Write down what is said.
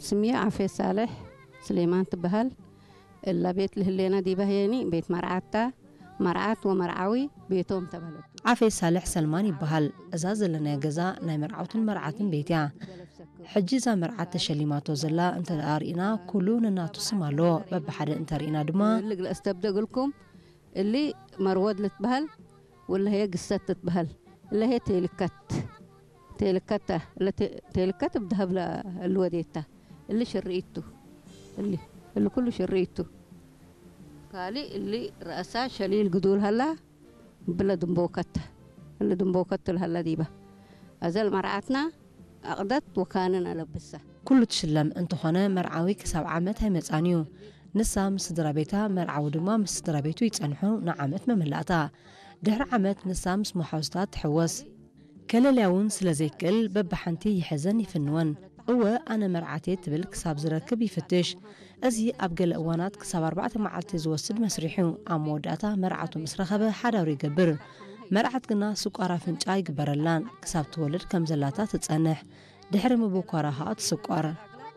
ስምየ ዓፌ ሳልሕ ስሌማን ትበሃል። እላ ቤት ልህሌና ዲባ ህየኒ ቤት መርዓታ፣ መርዓት ወመርዓዊ ቤቶም ተበለቱ። ዓፌ ሳልሕ ሰልማን ይበሃል። እዛ ዘለናዮ ገዛ ናይ መርዓውትን መርዓትን ቤት እያ። ሕጂ እዛ መርዓት ተሸሊማቶ ዘላ እንተ ደኣ ርኢና፣ ኩሉ ነናቱ ስም ኣለዎ። በብሓደ እንተ ርኢና ድማ፣ እሊ ግለ እስተብደግልኩም፣ እሊ መርወድ ልትበሃል፣ ወለሄ ግሰት ትትበሃል። እለሄ ቴልከት፣ ቴልከታ፣ እለ ቴ-፣ ቴልከት ብድሃብ ለ-፣ እሊ ወዴታ። እሊ ሽርኢቱ፣ እሊ፣ እሊ ኩሉ ሽርኢቱ። ካሊ እሊ ረእሳ ሸሊል ግዱል ሃላ፣ ብለ ድንቦከት፣ እሊ ድንቦከት ትልሃላ ዲባ። ኣዘል መርዓትና ኣቕደት ወካንን ኣለብሳ። ኩሉ ትሽለም እንተኾነ፣ መርዓዊ ክሳብ ዓመት ኣይመጻን እዩ። ንሳ ምስ ስድራ ቤታ፣ መርዓዊ ድማ ምስ ስድራ ቤቱ ይጸንሑ ንዓመት መመላእታ። ድሕሪ ዓመት ንሳ ምስ መሓዙታ ትሕወስ። ከለልያ እውን ስለ ዘይክእል፣ በብሓንቲ ይሕዘን ይፍንወን። እወ፣ ኣነ መርዓት እየ ትብል ክሳብ ዝረክብ ይፍትሽ። እዚ ኣብ ገለ እዋናት ክሳብ ኣርባዕተ መዓልቲ ዝወስድ መስርሕ እዩ። ኣብ መወዳእታ መርዓቱ ምስ ረኸበ ሓዳሩ ይገብር። መርዓት ግና ስቋር ኣፍንጫ ኣይግበረላን። ክሳብ ትወልድ ከም ዘላታ ትጸንሕ። ድሕሪ ምብኳራ ኸኣ ትስቋር።